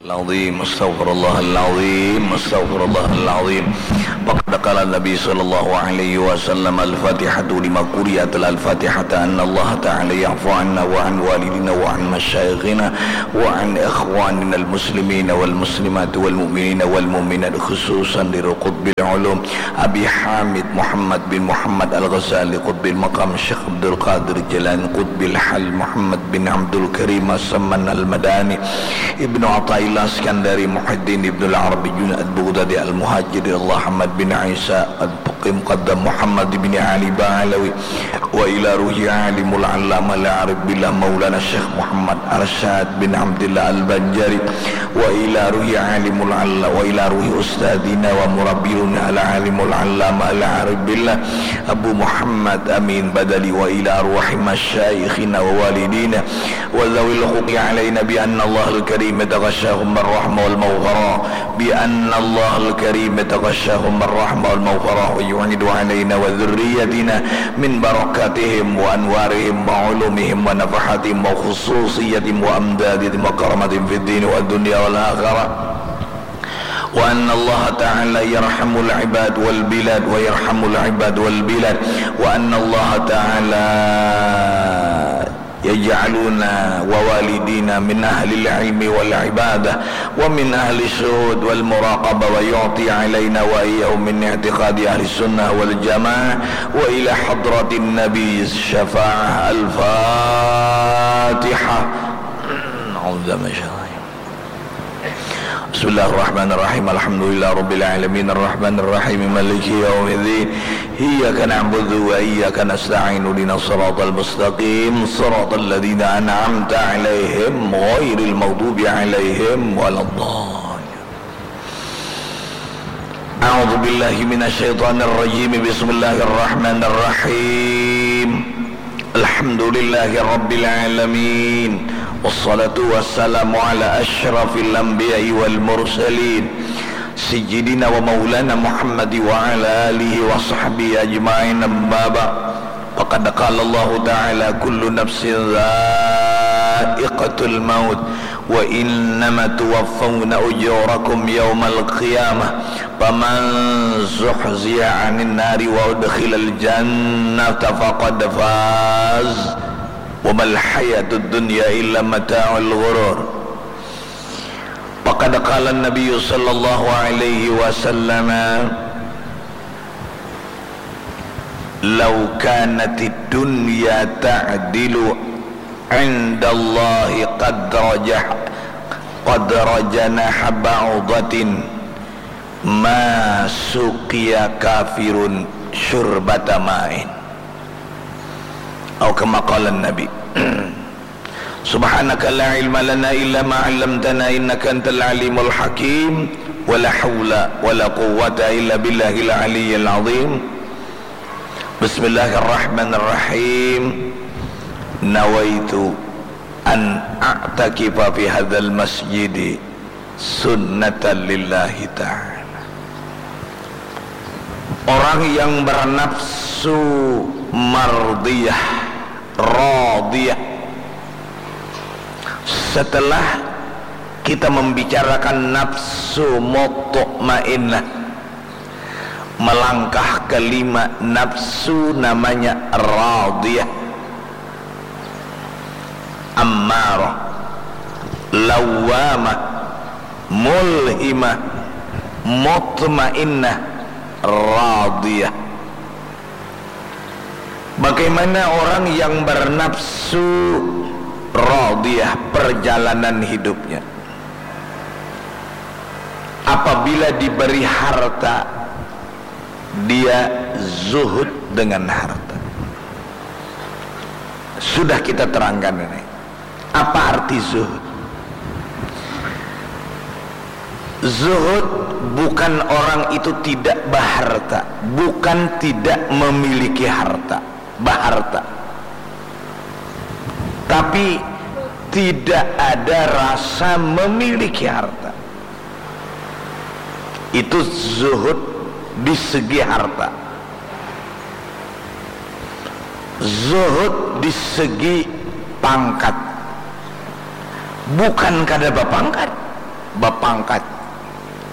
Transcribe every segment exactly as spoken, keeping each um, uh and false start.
العظيم، أستغفر الله العظيم، أستغفر الله العظيم. فقد قال النبي صلى الله عليه وسلم: الفاتحة لما قرئت، الفاتحة أن الله تعالى يعفو عنا وعن والدينا وعن مشايخنا وعن إخواننا المسلمين والمسلمات والمؤمنين والمؤمنات، خصوصا لقطب العلوم أبي حامد محمد بن محمد الغزالي، قطب المقام الشيخ عبد القادر الجيلاني، قطب الحال محمد بن عبد الكريم السمن المدني، ابن عطاء الله السكندري، محي الدين ابن العربي، جنيد البغدادي، المهاجر إلى الله، أحمد بن عيسى الفقيه، مقدم محمد بن علي بعلوي، وإلى روح عالم العلامة العارف بالله مولانا الشيخ محمد أرشاد بن عبد الله البنجاري، وإلى روح عالم العلا-، وإلى روح أستاذنا ومربينا العالم العلامة العارف بالله أبو محمد أمين بدوي، وإلى أرواح مشايخنا ووالدينا وذوي الحقوق علينا بأن الله الكريم يتغشاهم بالرحمة والمغفرة، بأن الله الكريم يتغشاهم بالرحمة والمغفرة، ويعيد علينا وذريتنا من بركاتهم وأنوارهم وعلومهم ونفحاتهم وخصوصياتهم وأمدادهم وكراماتهم في الدين والدنيا والآخرة. وأن الله تعالى يرحم العباد والبلاد، ويرحم العباد والبلاد، وأن الله تعالى يجعلنا ووالدينا من أهل العلم والعبادة ومن أهل الشهود والمراقبة، ويعطي علينا وإياهم من اعتقاد أهل السنة والجماعة وإلى حضرة النبي الشفاعة. الفاتحة. أعوذ بالله من الشيطان الرجيم. بسم الله الرحمن الرحيم. الحمد لله رب العالمين. الرحمن الرحيم. مالك يوم الدين. إياك نعبد وإياك نستعين. اهدنا الصراط المستقيم. صراط الذين أنعمت عليهم غير المغضوب عليهم ولا الضالين. أعوذ بالله من الشيطان الرجيم. بسم الله الرحمن الرحيم. الحمد لله رب العالمين. والصلاة والسلام على أشرف الأنبياء والمرسلين سيدنا ومولانا محمد وعلى آله وصحبه أجمعين. أما بعد. فقد قال الله تعالى: كل نفس ذائقة الموت وإنما توفون أجوركم يوم القيامة فمن زحزح عن النار وأدخل الجنة فقد فاز وما الحياة الدنيا إلا متاع الغرور. فقد قال النبي صلى الله عليه وسلم: لو كانت الدنيا تعدل عند الله قدر ج-، قدر جناح بعوضة ما سقي كافر شربة ماء. أو كما قال النبي. سبحانك لا علم لنا إلا ما علمتنا إنك أنت العليم الحكيم. ولا حول ولا قوة إلا بالله العلي العظيم. بسم الله الرحمن الرحيم. نويت أن أعتكف في هذا المسجد سنة لله تعالى. Orang yang bernafsu mardiyah, radiyah. Setelah kita membicarakan nafsu mutmainnah, melangkah kelima nafsu namanya radiyah, ammarah, lawwamah, mulhimah, mutmainnah, radiyah. Bagaimana orang yang bernafsu radiyah perjalanan hidupnya? Apabila diberi harta, dia zuhud dengan harta. Sudah kita terangkan ini. Apa arti zuhud? Zuhud bukan orang itu tidak baharta, bukan tidak memiliki harta, baharta. Tapi tidak ada rasa memiliki harta. Itu zuhud di segi harta. Zuhud di segi pangkat. Bukan kada bapangkat. bapangkat,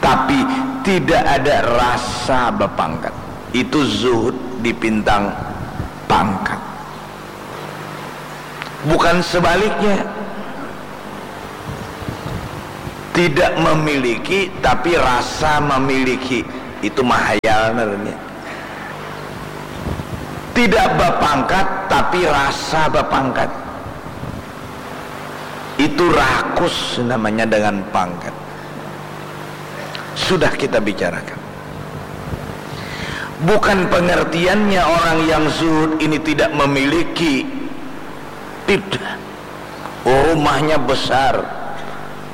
tapi tidak ada rasa bapangkat. Itu zuhud dipintang pangkat. Bukan sebaliknya. Tidak memiliki tapi rasa memiliki. Itu mahayal namanya. Tidak bapangkat tapi rasa bapangkat. Itu rakus namanya dengan pangkat. Sudah kita bicarakan. Bukan pengertiannya orang yang zuhud ini tidak memiliki. Tidak. Rumahnya besar,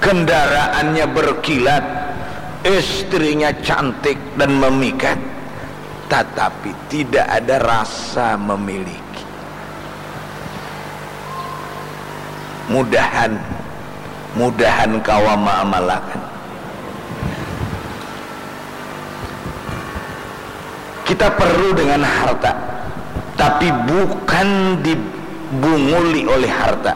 kendaraannya berkilat, istrinya cantik dan memikat, tetapi tidak ada rasa memiliki. Mudahan, mudahan kawa maamalakan. Kita perlu dengan harta, tapi bukan dibunguli oleh harta.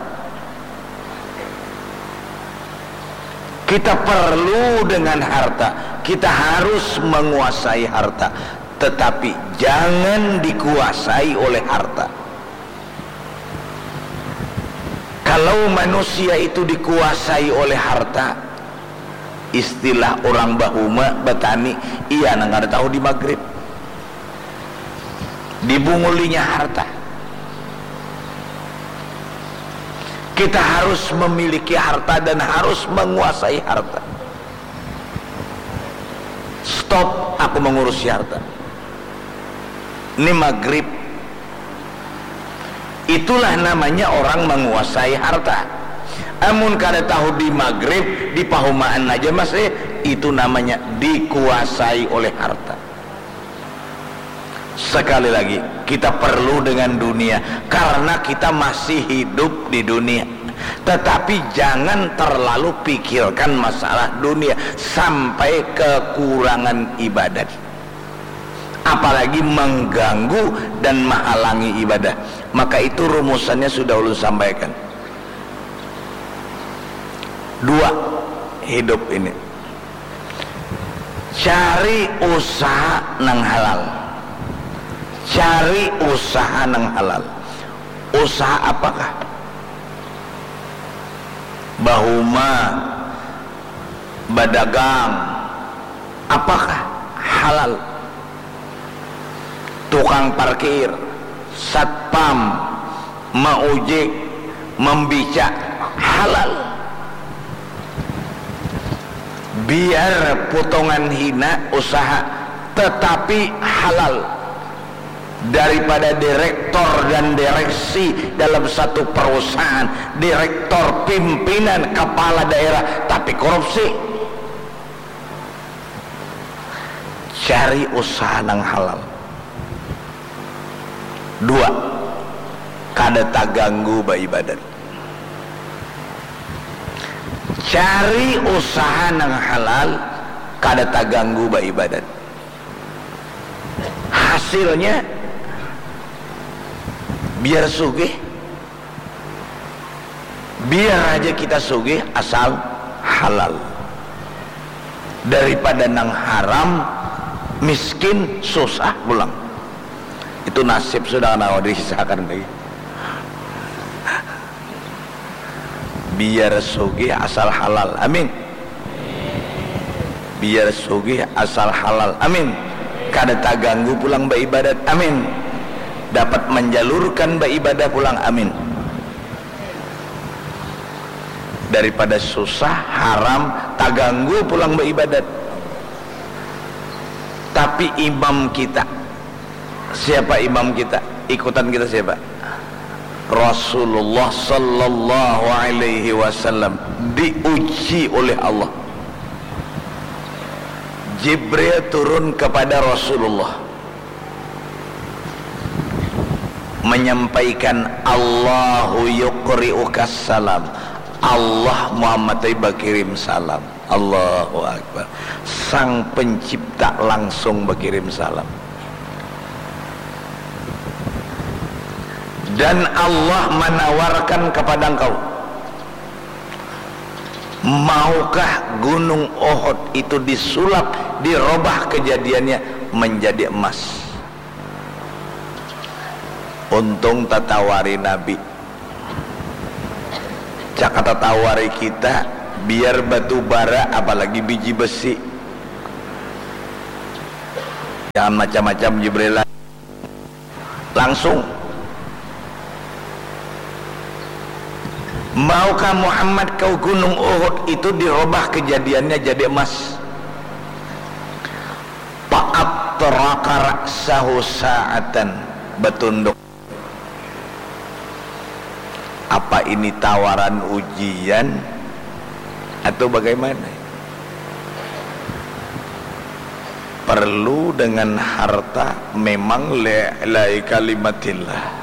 Kita perlu dengan harta, kita harus menguasai harta, tetapi jangan dikuasai oleh harta. Kalau manusia itu dikuasai oleh harta, istilah orang bahuma, batani, iya nang kada tahu di magrib. Dibungulinya harta. Kita harus memiliki harta dan harus menguasai harta. Stop aku mengurusi harta. Ini magrib. Itulah namanya orang menguasai harta. Amun kada tahu di magrib, di pahumaan aja masih, itu namanya dikuasai oleh harta. Sekali lagi, kita perlu dengan dunia karena kita masih hidup di dunia. Tetapi jangan terlalu pikirkan masalah dunia sampai kekurangan ibadat. Apalagi mengganggu dan menghalangi ibadah. Maka itu rumusannya sudah ulun sampaikan. Dua hidup ini. Cari usaha nang halal. Cari usaha nang halal. Usaha apakah? Bahuma, badagang, apakah halal? Tukang parkir, satpam, maujik, membica, halal. Biar potongan hina usaha, tetapi halal. Daripada direktor dan direksi dalam satu perusahaan, direktor, pimpinan, kepala daerah, tapi korupsi. Cari usaha nang halal. Dua, kada taganggu baibadat. Cari usaha nang halal, kada taganggu baibadat. Hasilnya, biar sugih. Biar aja kita sugih asal halal. Daripada nang haram, miskin, susah pulang. Itu nasib sudah kada kawa dihisahkan lagi. Biar sugih asal halal. Amin. Biar sugih asal halal. Amin. Kada taganggu pulang baibadat. Amin. Dapat manjalurkan baibadah pulang. Amin. Daripada susah, haram, taganggu pulang baibadat. Tapi imam kita, siapa imam kita? Ikutan kita siapa? Rasulullah sallallahu alaihi wasallam diuji oleh Allah. Jibril turun kepada Rasulullah menyampaikan, "Allahu yuqri'ukas salam." Allah, Muhammad tadi bakirim salam. Allahu Akbar. Sang Pencipta langsung bakirim salam. Dan Allah manawarkan kepada engkau Maukah gunung Uhud itu disulap, dirobah kejadiannya menjadi emas? Untung tatawari Nabi. Caka tatawari kita, biar batu bara, apalagi biji besi. Jangan macam-macam Jibril. Langsung. Maukah Muhammad kau gunung Uhud itu dirobah kejadiannya jadi emas? Fa'atraqa ra'sahu sa'atan, betunduk. Apa ini tawaran ujian atau bagaimana? Perlu dengan harta memang, li'ila'i kalimatillah.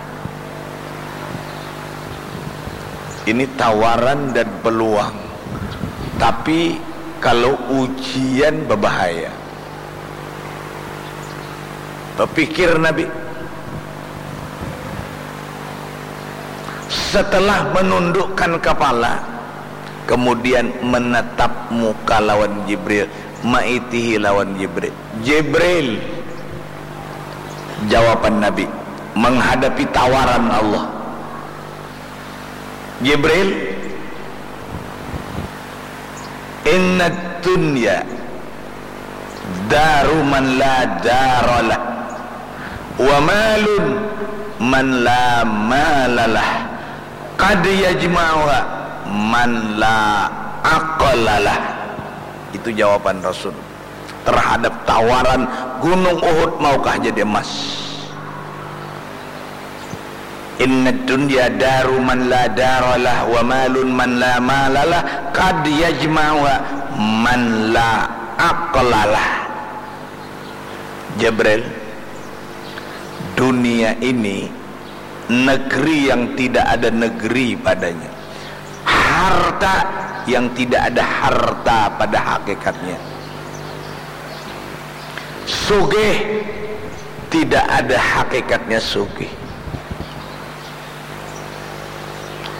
Ini tawaran dan peluang. Tapi kalau ujian berbahaya. Berpikir Nabi. Setelah menundukkan kepala, kemudian menatap muka lawan Jibril, ma'itihi lawan Jibril. Jibril, jawaban Nabi menghadapi tawaran Allah. Jibril, inna dunya daru man la daralah, wa malun man la malalah, qad yajma'uha man la aqlalah. Itu jawaban Rasul terhadap tawaran Gunung Uhud maukah jadi emas. Inna dunya daru man la daralah, wa malun man la malalah, qad yajma'uha man la aqlalah. Jibril, dunia ini negeri yang tidak ada negeri padanya, harta yang tidak ada harta pada hakikatnya, sugih tidak ada hakikatnya sugih.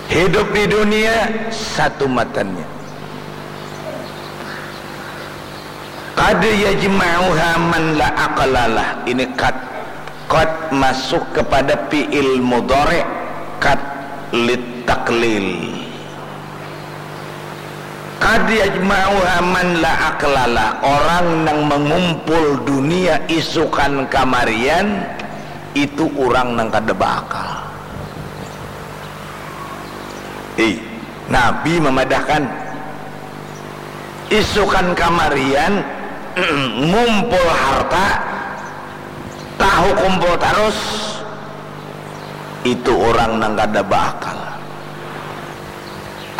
Hidup di dunia satu matannya. Qad yajma'uha man la aqlalah. Ini qad. Qad masuk kepada fi'il mudhari', qad lit taklil. Qad yajma'uha man la aqlalah. Orang nang mengumpul dunia isukan kamarian itu orang nang kada beakal. Ih, Nabi memadahkan isukan kamarian ngumpul harta, tahu kumpul tarus, itu orang nang kada beakal.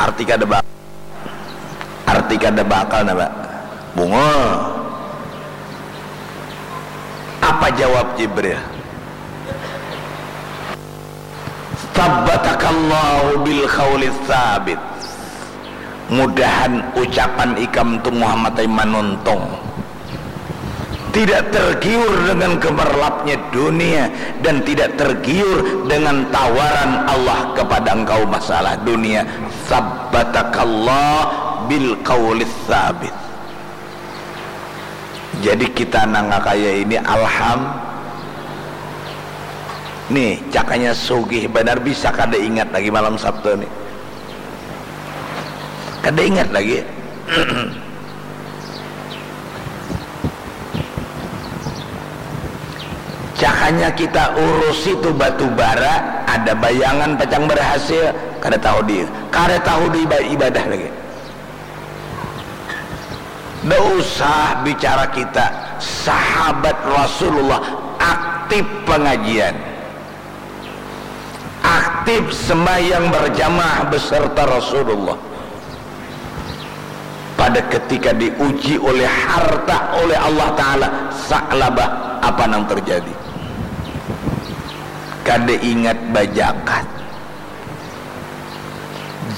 Arti kada beakal, arti kada beakal napa? Bungul. Apa jawab Jibril? Tabbatakallahu bil qaulis sabit. Mudahan ucapan ikam tu Muhammad ai manuntung. Tidak tergiur dengan gemerlapnya dunia dan tidak tergiur dengan tawaran Allah kepada engkau masalah dunia. Sabbatakallah bil qaulis sabit. Jadi kita nang kaya ini alham. Nih, cakanya sugih banar bisa kada ingat lagi malam Sabtu nih. Kada ingat lagi. Cakanya kita urusi tu batu bara, ada bayangan pacang berhasil, kada tahu di, kada tahu di iba-, ibadah lagi. Ndak usah bicara kita, sahabat Rasulullah aktif pengajian, aktif sembahyang berjamaah beserta Rasulullah. Pada ketika diuji oleh harta oleh Allah Ta'ala, Sa'labah, apa nang terjadi? Kada ingat bajakat.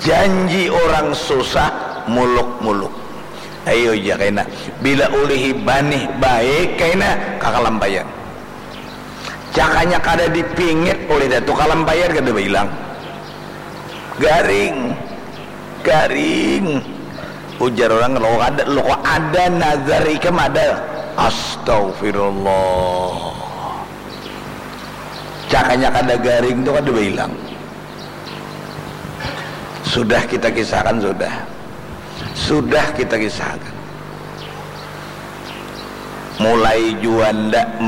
Janji orang susah, muluk-muluk. Ayo ja kaina. Bila ulihi banih baik kaina, kakalampaian. Cakanya kada dipingit oleh Datu Kalampaian, kada bailang. Garing. Garing. Ujar orang, lo kada, lo kada nazar ikam ada. Astagfirullah. Cakanya kada garing tu kada bailang. Sudah kita kisahkan, sudah. Sudah kita kisahkan. Mulai jua ndak